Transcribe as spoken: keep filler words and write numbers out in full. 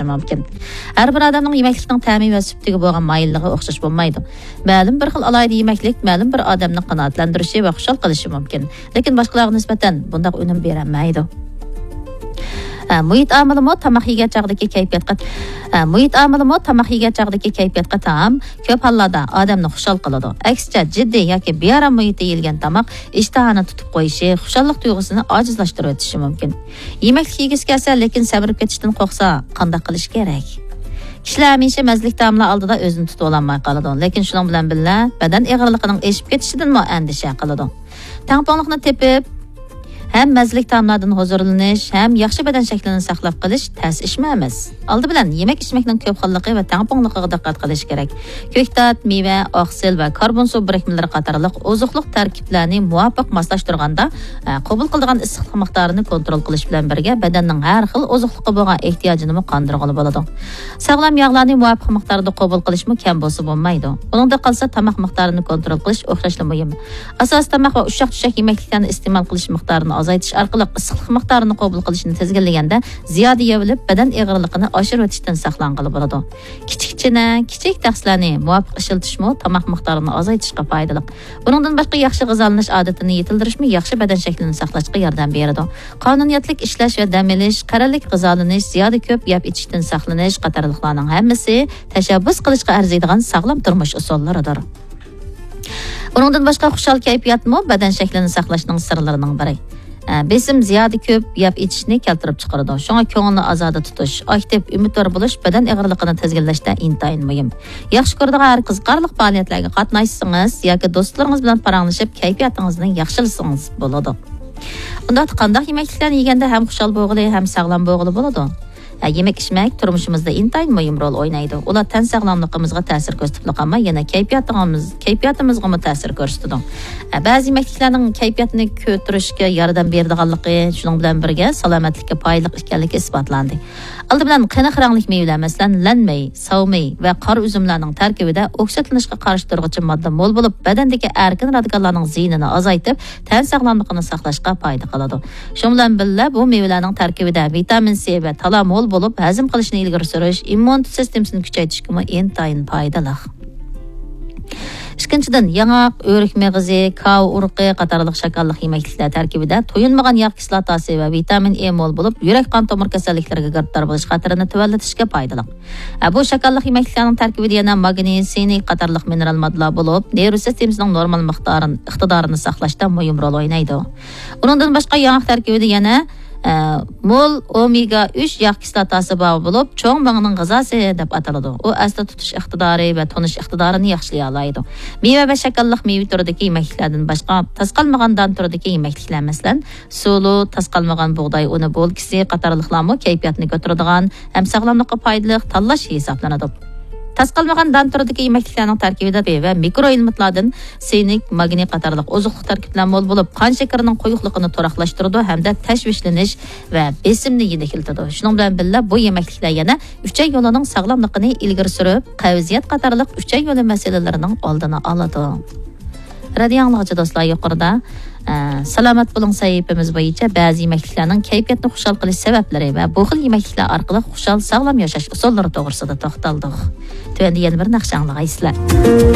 مۇمكىن. ھەر بىر ئادەمنىڭ يېمەكلىكنىڭ تەمى ۋە سۈپىتىگە بولغان مايىللىقى ئوخشاش بولمايدۇ. مەلۇم بىر خىل ئالاھىدە يېمەكلىك مەلۇم بىر ئادەمنى قانائەتلەندۈرۈشى ۋە خۇشال قىلىشى مۇمكىن. لېكىن باشقىلارغا نىسبەتەن بۇنداق ئۈنۈم بېرەلمەيدۇ. ئە، مۇھىت ئامىلىمۇ تاماق يېگەن چاغدىكى كەيپىياتقا، ئە، مۇھىت ئامىلىمۇ تاماق يېگەن چاغدىكى كەيپىياتقا تام. كۆپ ھاللاردا ئادەمنى خۇشال قىلىدۇ. ئەكسىچە، جىددىي ياكى بىئارام مۇھىتتا يېيىلگەن تاماق ئىشتىھانى تۇتۇپ قويۇشى، خۇشاللىق تۇيغۇسىنى ئاجىزلاشتۇرۇۋېتىشى مۇمكىن. يېمەكلىك يېگۈسى كەلسە، لېكىن سەمرىپ كېتىشتىن قورقسا، قانداق قىلىش كېرەك؟ كىشىلەر ھەمىشە مەززىلىك تائاملار ئالدىدا ئۆزىنى تۇتۇۋالالماي قالىدۇ، لېكىن شۇنىڭ بىلەن بىللە، بەدەن ئېغىرلىقىنىڭ ئېشىپ كېتىشىدىنمۇ ئەندىشە قىلىدۇ. تەڭپۇڭلۇقنى تېپىپ، ھەم مەززىلىك تائاملاردىن ھۇزۇرلىنىش، ھەم ياخشى بەدەن شەكلىنى ساقلاپ قېلىش تەس ئىشمۇ ئەمەس. ئالدى بىلەن، يېمەك-ئىچمەكنىڭ كۆپ خىللىقى ۋە تەڭپۇڭلۇقىغا دىققەت قىلىش كېرەك. كۆكتات، مېۋە، ئاقسىل ۋە كاربون سۇ بىرىكمىلىرى قاتارلىق ئوزۇقلۇق تەركىبلەرنى مۇۋاپىق ماسلاشتۇرغاندا، ئە، قوبۇل قىلىدىغان ئىسسىقلىق مىقدارىنى كونترول قىلىش بىلەن بىرگە، بەدەننىڭ ھەر خىل ئوزۇقلۇققا بولغان ئېھتىياجىنىمۇ قاندۇرغىلى بولىدۇ. ساغلام ياغلارنى مۇۋاپىق مىقداردا قوبۇل قىلىشمۇ كەم بولسا بولمايدۇ. ئۇنىڭدىن قالسا، تاماق مىقدارىنى كونترول قىلىش ئوخشاشلا مۇھىم. ئاساسىي تاماق ۋە ئۇششاق-چۈششەك يېمەكلىكلەرنى ئىستېمال قىلىش مىقدارىنى ئازايتىش ئارقىلىق ئىسسىقلىق مىقدارىنى قوبۇل قىلىشنى تىزگىنلىگەندە، زىيادە يەۋېلىپ، بەدەن ئېغىرلىقىنى ئاشۇرۇۋېتىشتىن ساقلانغىلى بولىدۇ. كىچىك چىنە، كىچىك تەخسىلەرنى مۇۋاپىق ئىشلىتىشمۇ تاماق مىقدارىنى ئازايتىشقا پايدىلىق. بۇنىڭدىن باشقا، ياخشى غىزالىنىش ئادىتىنى يېتىلدۈرۈشمۇ ياخشى بەدەن شەكلىنى ساقلاشقا ياردەم بېرىدۇ. قانۇنىيەتلىك ئىشلەش ۋە دەم ئېلىش، قەرەللىك غىزالىنىش، زىيادە كۆپ يەپ ئىچىشتىن ساقلىنىش قاتارلىقلارنىڭ ھەممىسى تەشەببۇس قىلىشقا ئەرزىيدىغان ساغلام تۇرمۇش ئۇسۇللىرىدۇر. ئۇنىڭدىن باشقا، خۇشال كەيپىياتمۇ بەدەن شەكلىنى ساقلاشنىڭ سىرلىرىنىڭ بىرى. ئە، بېسىم زىيادە كۆپ يەپ ئىچىشنى كەلتۈرۈپ چىقىرىدۇ. شۇڭا كۆڭۈلنى ئازادە تۇتۇش، ئاكتىپ، ئۈمىدۋار بولۇش بەدەن ئېغىرلىقىنى تىزگىنلەشتە ئىنتايىن مۇھىم. ياخشى كۆرىدىغان ھەر قىزىقارلىق پائالىيەتلەرگە قاتناشسىڭىز ياكى دوستلىرىڭىز بىلەن پاراڭلىشىپ، كەيپىياتىڭىزنى ياخشىلىسىڭىز بولىدۇ. ئۇنداقتا قانداق يېمەكلىكلەرنى يېگەندە ھەم خۇشال بولغىلى، ھەم ساغلام بولغىلى بولىدۇ؟ ھە، يېمەك-ئىچمەك تۇرمۇشىمىزدا ئىنتايىن مۇھىم رول ئوينايدۇ. ئۇلار تەن ساغلاملىقىمىزغا تەسىر كۆرسىتىپلا قالماي، يەنە كەيپىياتىڭىز-، كەيپىياتىمىزغىمۇ تەسىر كۆرسىتىدۇ. ھە، بەزى يېمەكلىكلەرنىڭ كەيپىياتنى كۆتۈرۈشكە ياردەم بېرىدىغانلىقى، شۇنىڭ بىلەن بىرگە سالامەتلىككە پايدىلىق ئىكەنلىكى ئىسپاتلاندى. ئالدى بىلەن قېنىق رەڭلىك مېۋىلەر، مەسىلەن، لەنمېي، ساۋمېي ۋە قارا ئۈزۈملەرنىڭ تەركىبىدە ئوكسىدلىنىشقا قارشى تۇرغۇچى ماددا مول بولۇپ، بەدەندىكى ئەركىن رادىكاللارنىڭ زىيىنىنى ئازايتىپ، تەن ساغلاملىقىنى ساقلاشقا پايدا قىلىدۇ. شۇنىڭ بىلەن بىللە، بۇ مېۋىلەرنىڭ تەركىبىدە ۋىتامىن سى ۋە تالا مول بولۇپ، ھەزىم قىلىشنى ئىلگىرى سۈرۈش، ئىممۇنىتېت سىستېمىسىنى كۈچەيتىشكىمۇ ئىنتايىن پايدىلىق. ئىككىنچىدىن، ياڭاق، ئۆرۈك مېغىزى، كاۋا ئۇرۇقى قاتارلىق شاكارلىق يېمەكلىكلەر تەركىبىدە تويۇنمىغان ياغ كىسلاتاسى ۋە ۋىتامىن ئې مول بولۇپ، يۈرەك قان تومۇر كېسەللىكلىرىگە گىرىپتار بولۇش خەتىرىنى تۆۋەنلىتىشكە پايدىلىق. ئە، بۇ شاكارلىق يېمەكلىكلەرنىڭ تەركىبىدە يەنە ماگنىي، سىنك قاتارلىق مىنېرال ماددىلار بولۇپ، نېرۋا سىستېمىسىنىڭ نورمال مىقدارىنى، ئىقتىدارىنى ساقلاشتا مۇھىم رول ئوينايدۇ. ئۇنىڭدىن باشقا، ياڭاق تەركىبىدە يەنە، ئە، مول ئومېگا ئۈچ ياغ كىسلاتاسى بار بولۇپ، چوڭ مېڭىنىڭ غىزاسى دەپ ئاتىلىدۇ. ئۇ ئەستە تۇتۇش ئىقتىدارى ۋە تونۇش ئىقتىدارىنى ياخشىلايالايدۇ. مېۋە ۋە شاكارلىق مېۋە تۈرىدىكى يېمەكلىكلەردىن باشقا، تاس قالمىغان دان تۈرىدىكى يېمەكلىكلەر، مەسىلەن، سۇلۇ، تاس قالمىغان بۇغداي ئۇنى بولكىسى قاتارلىقلارمۇ كەيپىياتنى كۆتۈرىدىغان ھەم ساغلاملىققا پايدىلىق تاللاش ھېسابلىنىدۇ. تاس قالمىغان دان تۈرىدىكى يېمەكلىكلەرنىڭ تەركىبىدە ۋە مىكرو ئېلېمېنتلاردىن سىنك، ماگنىي قاتارلىق ئوزۇقلۇق تەركىبلەر مول بولۇپ، قان شېكىرىنىڭ قويۇقلۇقىنى تۇراقلاشتۇرىدۇ ھەمدە تەشۋىشلىنىش ۋە بېسىمنى يېنىكلىتىدۇ. شۇنىڭ بىلەن بىللە، بۇ يېمەكلىكلەر يەنە ئۈچەي يولىنىڭ ساغلاملىقىنى ئىلگىرى سۈرۈپ، قەۋزىيەت قاتارلىق ئۈچەي يولى مەسىلىلىرىنىڭ ئالدىنى ئالىدۇ. رادىئو ئاڭلىغۇچى دوستلار، يۇقىرىدا، ئە، سالامەت بولۇڭ سەھىپىمىز بويىچە بەزى يېمەكلىكلەرنىڭ كەيپىياتنى خۇشال قىلىش سەۋەبلىرى ۋە بۇ خىل يېمەكلىكلەر ئارقىلىق خۇشال، ساغلام ياشاش ئۇسۇللىرى توغرىسىدا توختالدۇق. تۆۋەندە يەنە بىر ناخشا ئاڭلىغايسىلەر.